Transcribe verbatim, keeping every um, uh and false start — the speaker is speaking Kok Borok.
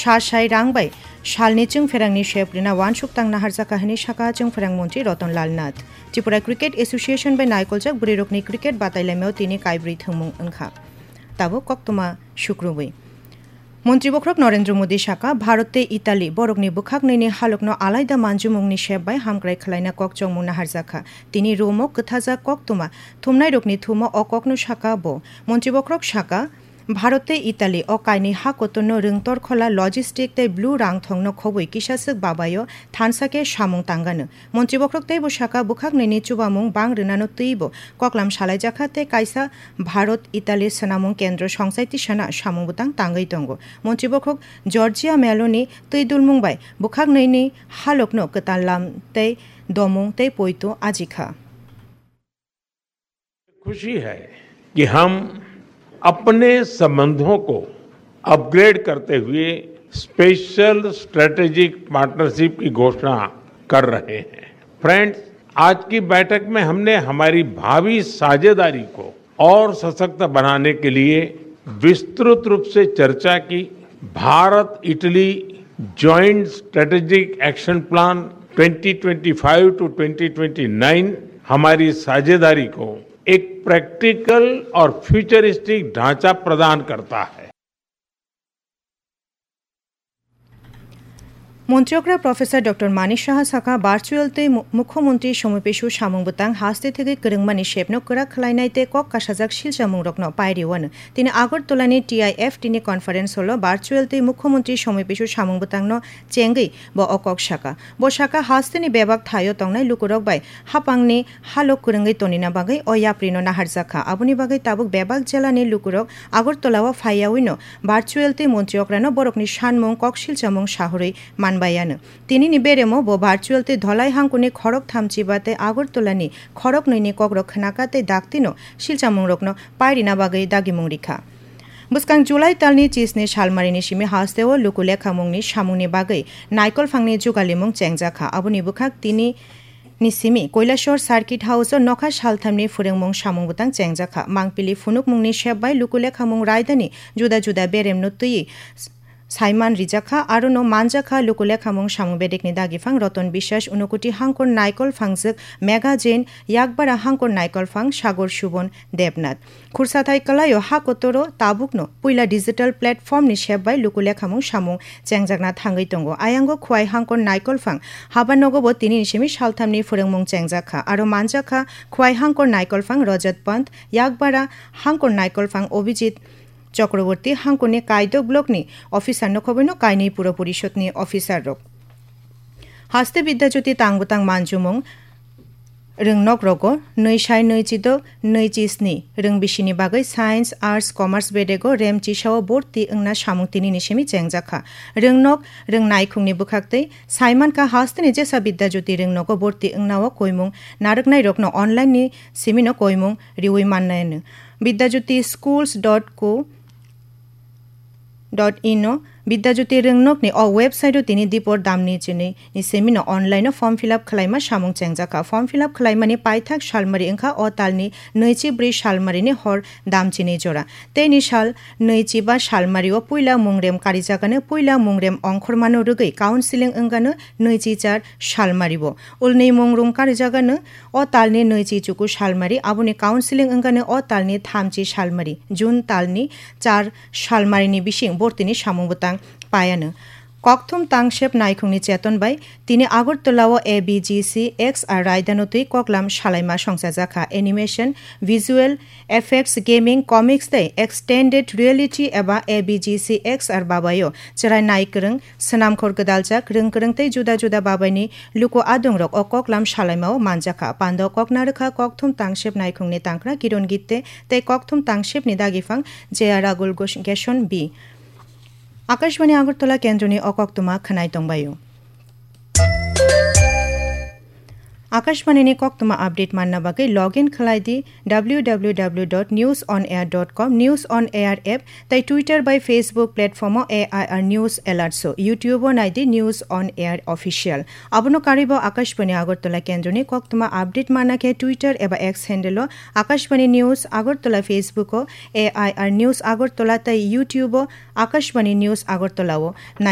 Thasai rang bai salni chwngpherangni sep rina uansuk tang naharjakha hwnwi sakha chwngpherang montri Roton Lal Nath. Tripura Cricket Association bai naikoljak bwrwirokni cricket batailaimao tini kaibrwi thwngmung wngkha. Tabuk koktwma sukrubwi. Montri bokhorok Narendra Modi sakha, Bharat tei Italy borokni bwkhaknwini halokno alaida manjumungni sep bai hamkrai khwlaina kok chongmung naharjakha. Tini Rome-o kwthajak koktwma thumnairokni thumo o kokno sakha bo. Montri bokhorok sakha, Bharat tei Italy o kainwi ha kotorno rwngtor khola logistic tei blue rangthongno khobwi kisaswk babaio thansa khe samung tangano. Montri bokhorok teibo sakha, bwkhaknwini chubamung bang rwnano twibo koklam salaijakha tei kaisa Bharat Italy swnamung kendro songchai tisana samung bwtang tangwi tongo. Montri bokhorok Giorgia Meloni twi dulmung bai bwkhaknwini halokno kwtal lam tei domung tei poito ajikha. खुशी है कि हम अपने संबंधों को अपग्रेड करते हुए special strategic partnership की घोषणा कर रहे हैं। फ्रेंड्स, आज की बैठक में हमने हमारी भावी साझेदारी को और सशक्त बनाने के लिए विस्तृत रूप से चर्चा की। Bharat Italy joint strategic action plan twenty twenty five to twenty twenty nine हमारी साझेदारी को एक प्रैक्टिकल और फ्यूचरिस्टिक ढांचा प्रदान करता है। Montri okra Professor Doctor Manik Saha sakha, virtual tei mu-, Mukhyamantri Somoipisu samung bwtang haste thegwi kwrwngmani sepno kwrak khwlainai tei kok kasajak silchamungrokno pairiwano. Tini Agartala ni T I F T ni conference hall o virtual tei Mukhyamantri Somoipisu samung bwtangno chengwi bo o kok sakha. Bo sakha, hasteni bebak thaio tongnai lukurok bai hapangni halo kwrwngwi tonina bagwi o yaprino naharjakha. Aboni bagwi tabuk bebak jelani lukurok Agartala o phaiyawino virtual tei montri okrano borokni sanmung kok silchamung sahorwi manbaiano. Tinini beremo bo virtual tei dholai hangkuni khorok thamchiba tei Agartala ni khorok nwini kokrok khnaka tei daktino silchamungrokno pairina bagwi dagimung rikha. Bwskang July talni chisni salmarini simi hasteo luku lekhamungni samungni bagwi naikolphangni jugalimung chengjakha. Aboni bwkhak tini ni simi Koilashor Circuit House o nokha salthamni phwrwngmung samung bwtang chengjakha. Mangpili phunukmungni sep bai luku lekhamung raidani juda juda beremno twiwi saiman rijakha, arono manjakha luku lekhamung samung bedekni dagiphang Roton Biswas, Unukuti hangkor naikol phangjwk Megha Jain, Yakbara hangkor naikol phang Sagor Subon Debnath. Khursathai kwlaio ha kotoro tabukno puila digital platform ni sep bai luku lekhamung samung chengjakna thangwi tongo. Ayango Khwai hangkor naikol phang haba nogobo tini ni simi salthamni phwrwngmung chengjakha. Aro manjakha Khwai hangkor naikol phang Rajat Pant, Yakbara hangkor naikol phang Obhijit Chakraborty, hangkorni Kaidok block ni officer no khobwino kainwi puro porishod ni officer rok. Haste Bidya Jyoti tang bwtang manjumung rwngnok rogo nwi sai nwi chido nwi chi sni rwng bisini bagwi science, arts, commerce bedego rem chisao borti wngna samung tini ni simi chengjakha. Rwngnok rwng naikhungni bwkhaktwi saimankha hasteni jesa Bidya Jyoti rwngnogo borti wngnao koimung narwknai rokno online ni simino koimung riwi mannai. Bidya Jyoti schools dot co dot in o Bidya Jyoti rwngnokni o website o tini dipor damni chini ni semino online o form fill up khwlaima samung chengjakha. Form fill up khwlaimani paithak salmari wngkha o talni nwi chi bwrwi salmarini hor dam chini jora. Teini sal nwi chi ba salmari o puila mungrem karijagano puila mungrem ongkhormano rwgwi counseling wngano nwi chi char salmari o. Ulni mungrung karijagano o talni nwi chi chuku salmari, aboni counseling wngkano o talni tham chi salmari, June talni char salmarini bising bortini samung bwtang paiano. Kokthum tangsep naikhungni cheton bai tini Agartala o A B G C X R raidano twi koklam salaima songchajakha. Animation, visual effects, gaming, comics tei extended reality eba A B G C X R babaio chwrai naikwrwng, swnamkhor gwdaljak, rwngkwrwng tei juda juda babaini luku adongrok o koklam salaimao manjakha. Pando kokna rwkha kokthum tangsep naikhungni tangkra Kiron Gitte tei kokthum tangsepni dagiphang J R Ragul Gos-, Geson B. Akashbani Agartala kendroni o koktwma khwnai tongbaio. Akashbani ni koktwma update manna bagwi login khlai di W W W dot news on air dot com, News on Air app tei Twitter bai Facebook platform o A I R News Alerts o, YouTube o nai di News on Air Official. Abono karwi bo Akashbani Agartala kendroni koktwma update manna khe Twitter eba X handle o Akashbani News Agartala, Facebook o A I R News Agartala tei YouTube o Akashbani News Agartala o nai